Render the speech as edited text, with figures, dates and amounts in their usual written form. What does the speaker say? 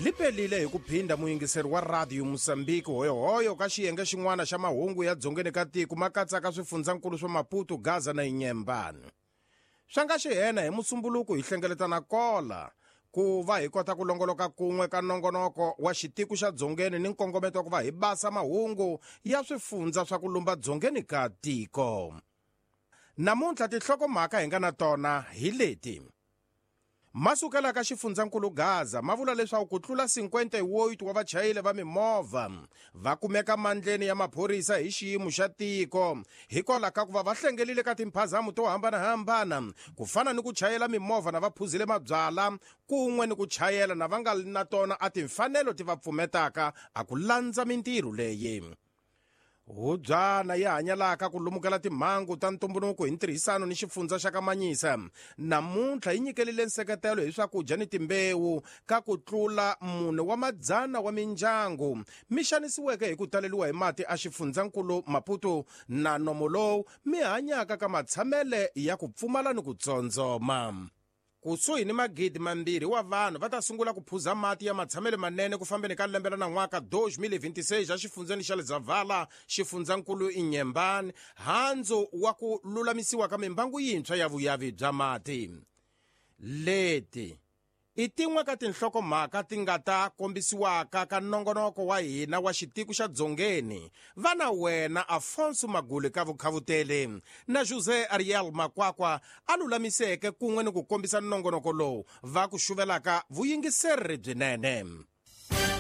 Li pelile hi ku phinda muyingiseri wa Radio Mozambique hoyohoyo ka xiyenge xin'wana xa mahungu ya dzongeni ka tiko ma katsaka swifundzankulu swa Maputo, Gaza na Inhambane. Swa nga xihena hi Musumbuluku hi hlengeletana kola ku va hi kota ku longoloka kun'we ka nongonoko wa xitiko xa dzongeni ni nkongometo wa ku va hi basa mahungu ya swifundza swa ku lumba dzongeni ka tiko. Namuntlha tinhlokomhaka hi nga na tona hi leti. Ma sukela ka xifundzankulu Gaza ma vula leswaku ku tlula 58 wa vachayeli va mimovha va kumeka mandleni ya maphorisa hi xiyimo xa tiko hikwalaho ka ku va va hlengelile ka timphazamo to hambanahambana ku fana ni ku chayela mimovha na va phuzile mabyala kun'we ni ku chayela na va nga na tona a timfanelo ti va pfumetaka a ku landza mintirho leyi. Hubyana yi hanyalaka ku lumukela timhangu ta ntumbuluko hi ntirhisano ni xifundza xa ka Manyisa namuntlha yi nyikelile nseketelo hi swakudya ni timbewu ka ku tlula mune wa madzana wa mindyangu mi xanisiweke hi ku taleliwa hi mati a xifundzankulu Maputo na nomo lowu mi hanyaka ka matshamele ya ku pfumala ni ku tsondzoma. Kusuhi ni 2,000 wa vanhu va ta sungula ku phuza mati ya matshamelo manene ku fambeni ka lembe ra nan'waka 2026 exifundzeni xa Lezavhala, xifundzankulu Inhambane, handzu wa ku lulamisiwa ka mimbangu yintshwa ya vuyavi bya mati. Leti i tin'we ka tinhlokomhaka ti nga ta kombisiwaka ka nongonoko wa hina wa xitiko xa dzongeni va na wena Afonso Maguli ka vukhavuteli na José Ariel Makwakwa a lulamiseke kun'we ni ku kombisa nongonoko lowu va ku xuvelaka vuyingiseri byinene.